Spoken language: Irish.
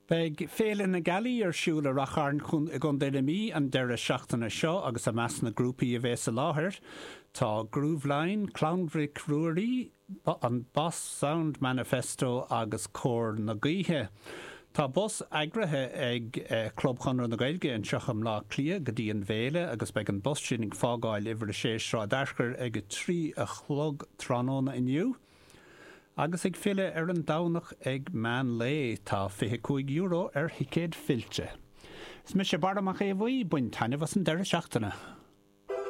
Beidh Féile na Gealaí ar siúl i Rath Chairn i gContae na Mí an deireadh seachtaine seo agus i measc na grúpaí a bheas i láthair tá Grooveline, Clann Mhic Ruairí, an Boss Sound Manifesto agus Cór na Gaoithe. Tá bus eagraithe ag Club Chonradh na Gaeilge anseo i mBleá Cliath go dtí an bhféile agus beidh an bus sin ag fágáil uimhir 6 Sráid Fhearchair ag 3 a chlog tráthnóna inniu. Agus ag filleadh ar an Domhnach ag meán lae. Tá €25 ar thicéad fillte. Is mise Barra Mac Aodha Bhuí, bain taitneamh as an deireadh seachtaine.